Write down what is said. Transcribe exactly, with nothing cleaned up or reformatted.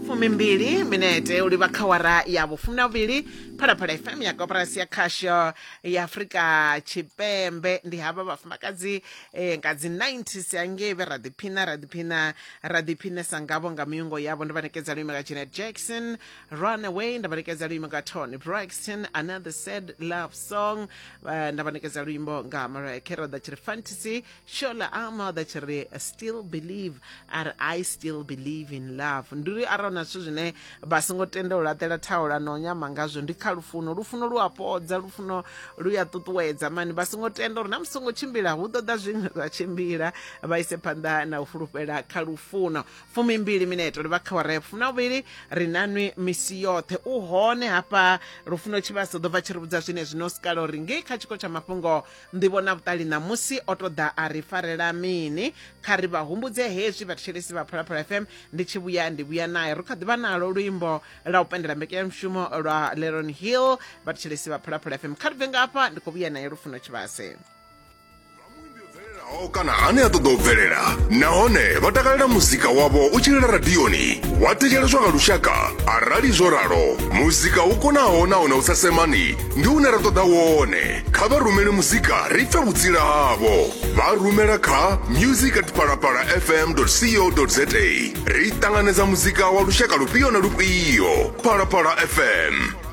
Fumimbili minete u livha kha wara ya vhufumi na vhuvhili, Phalaphala F M ya Koporasi ya Khasho ya Afrika Tshipembe. Ndi havha vhafumakadzi eh, nga dzi nineties hangei vhe ra ḓiphina ra ḓiphina ra ḓiphinesa ngavho nga miungo yavho. Ndo vha nekedza luimbo nga Janet Jackson, "Run Away". Nda vha nekedza luimbo nga Toni Braxton, "Another Sad Love Song". Eh, nda vha nekedza luimbo nga Mariah Carey, ḓa tshi ri "Fantasy". Shola Ama ḓa tshi ri "Still Believe", ari "I still believe in love". Ndi uri arali na zwithu zwine vha songo tenda u laṱela thaula na u nyama ngazwo ndi kha lufuno. Lufuno lu a fhodza, lufuno lu ya ṱuṱuwedza mani. Vha songo tenda uri na musi songo tshimbila hu ḓo ḓa zwiṅwe zwa tshimbila, vha ise phanḓa na u fulufhela kha lufuno. Fumimbili mineto ri vha kha wara ya fumi na vhuvhili. Ri nanwi misi yoṱhe u hone hafha Lufuno Tshivhasa ḓo bva tshi ri vhudza zwine zwino sikala uri ngei kha tshiko tsha mafhungo, nḓivho na vhuṱali ṋamusi o to ḓa a ri farela mini. Kha ri vha humbudze hezwi vhathetshelesi vha Phalaphala F M, ndi tshi vhuya ndi vhuya naye. Ri kha ḓi vha nalo luimbo la u pendela mbekanyamushumo lwa Leron Hill. Vhathetshelesi vha Phalaphala F M, kha ri bve ngafha, ndi khou vhuya naye Lufuno Tshivhase. Bvelelaho kana ane a ṱoḓa u bvelela nahone vha takalela muzika wavho u tshi lila radioni wa thetsheleswa nga lushaka. Arali zwo ralo, muzika u konaho nahone u sa semani ndi une ra ṱoḓa wone. Kha vha rumele muzika ri pfe vhutsila havho. Vha rumela kha music at phalaphala F M co za. Ri ṱanganedza muzika wa lushaka lufhio na lufhio. Phalaphala F M.